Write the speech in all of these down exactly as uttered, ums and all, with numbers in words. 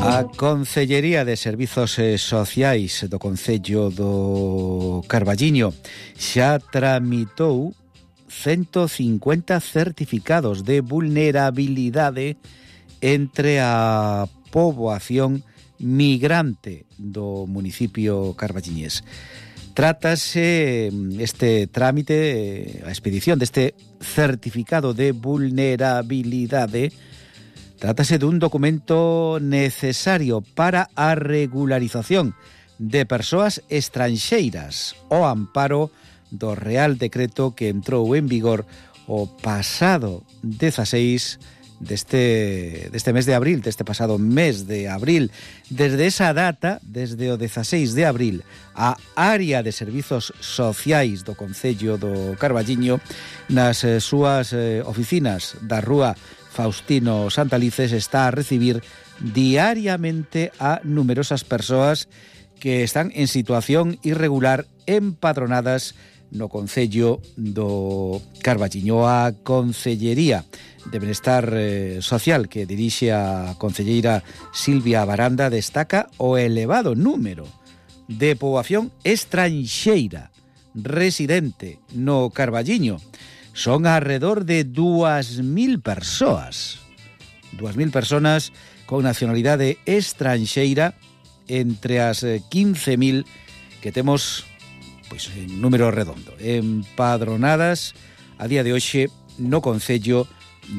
A Concellería de Servizos Sociais do Concello do Carballiño xa tramitou ciento cincuenta certificados de vulnerabilidade entre a poboación migrante do municipio carballiñés. Trátase este trámite, a expedición deste certificado de vulnerabilidade. Trátase dun documento necesario para a regularización de persoas estranxeiras ao amparo do Real Decreto que entrou en vigor o pasado dezaseis deste, deste mes de abril, deste pasado mes de abril. Desde esa data, desde o dezaseis de abril, a área de servizos sociais do Concello do Carballiño nas eh, súas eh, oficinas da rúa Faustino Santalices está a recibir diariamente a numerosas persoas que están en situación irregular empadronadas no Concello do Carballiño. A Concellería de Benestar eh, Social que dirixe a concelleira Silvia Baranda destaca o elevado número de poboación estranxeira residente no Carballiño. Son alrededor de dúas mil persoas, dúas mil personas con nacionalidade estranxeira entre as quince mil que temos, pois en número redondo, empadronadas a día de hoxe no Concello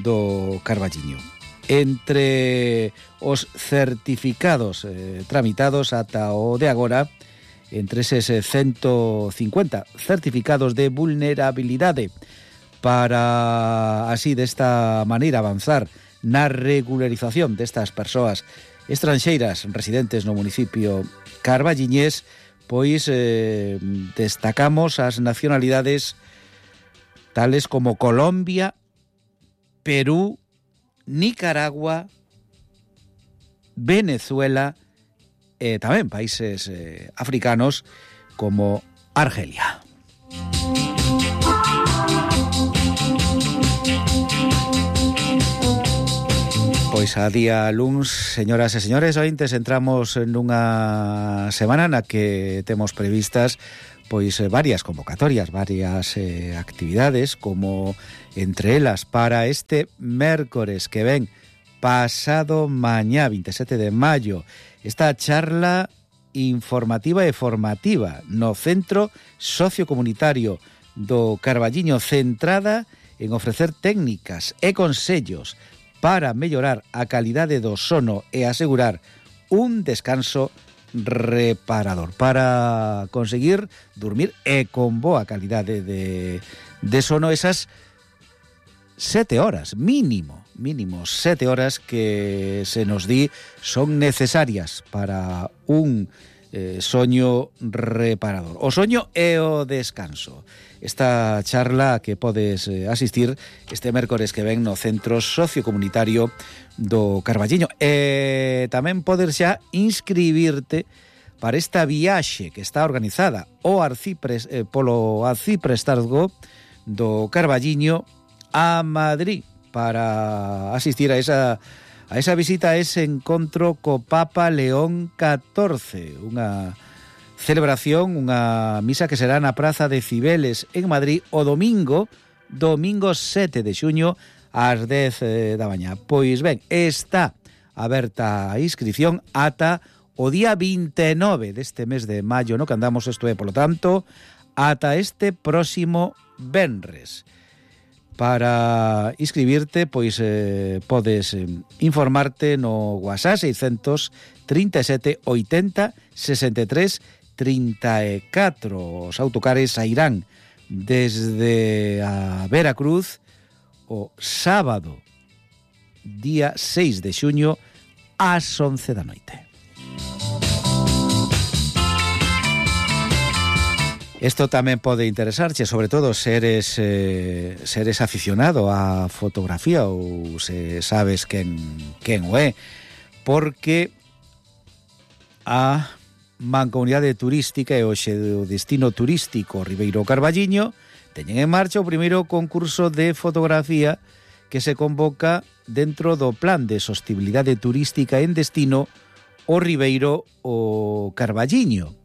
do Carballiño. Entre os certificados eh, tramitados ata o de agora, entre eses ciento cincuenta certificados de vulnerabilidade, para así desta maneira avanzar na regularización destas persoas estranxeiras residentes no municipio carballiñés, pois eh, destacamos as nacionalidades tales como Colombia, Perú, Nicaragua, Venezuela e tamén países eh, africanos como Argelia. Pois a día luns, señoras e señores ointes, entramos nunha semana na que temos previstas pois varias convocatorias, varias eh, actividades, como entre elas para este mércores que ven pasado mañá, veintisiete de maio, esta charla informativa e formativa no Centro Sociocomunitario do Carballiño, centrada en ofrecer técnicas e consellos para mellorar a calidade do sono e asegurar un descanso reparador, para conseguir dormir e con boa calidade de, de sono esas sete horas, mínimo, mínimo sete horas que se nos di son necesarias para un eh, soño reparador. O soño e o descanso. Esta charla que podes eh, asistir este mércores que ven no Centro Sociocomunitario do Carballiño. E tamén podes xa inscribirte para esta viaxe que está organizada o Arcipres, eh, polo Arciprestazgo do Carballiño a Madrid para asistir a esa a esa visita, a ese encontro co Papa León catorce, unha celebración, unha misa que será na Praza de Cibeles en Madrid o domingo, domingo sete de xuño ás dez da mañá. Pois ben, está aberta a inscripción ata o día vinte e nove deste mes de maio, no que andamos, isto é, polo tanto, ata este próximo venres. Para inscribirte, pois eh, podes eh, informarte no WhatsApp seiscentos trinta e sete oitenta sesenta e tres trinta e catro. Os autocares sairán desde a Veracruz o sábado, día seis de xuño, ás once da noite. Isto tamén pode interesarche, sobre todo seres eh, seres aficionado á fotografía ou se sabes quen, quen o é, porque a Mancomunidade Turística e hoxe o destino turístico Ribeiro Carballiño teñen en marcha o primeiro concurso de fotografía que se convoca dentro do Plan de Sostibilidade Turística en Destino o Ribeiro o Carballiño.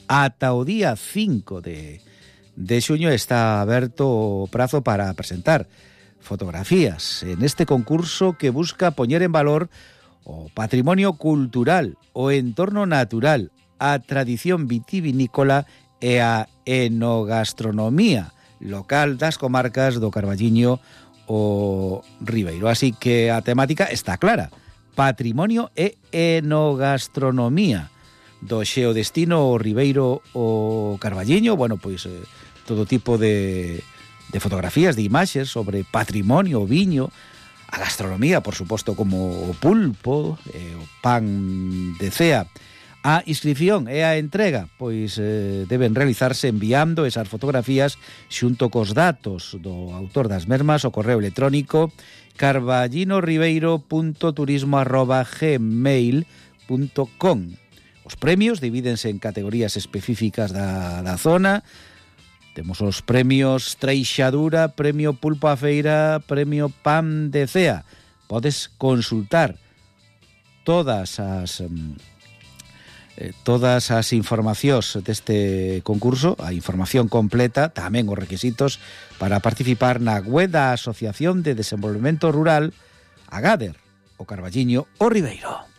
Ata o día cinco de, de xuño está aberto o prazo para presentar fotografías en este concurso que busca poñer en valor o patrimonio cultural, o entorno natural, a tradición vitivinícola e a enogastronomía local das comarcas do Carballiño o Ribeiro. Así que a temática está clara: patrimonio e enogastronomía do xeodestino o Ribeiro o Carballiño. Bueno, pois eh, todo tipo de, de fotografías, de imaxes sobre patrimonio, o viño, a gastronomía, por suposto, como o pulpo, eh, o pan de cea. A inscripción e a entrega pois eh, deben realizarse enviando esas fotografías xunto cos datos do autor das mesmas ao correo electrónico carballinoribeiro punto turismo arroba gmail punto com. Os premios divídense en categorías específicas da, da zona. Temos os premios Treixadura, premio Pulpo a Feira, premio Pan de Cea. Podes consultar todas as eh, todas as informacións deste concurso, a información completa, tamén os requisitos para participar na web da Asociación de Desenvolvemento Rural Agader, o Carballiño o Ribeiro.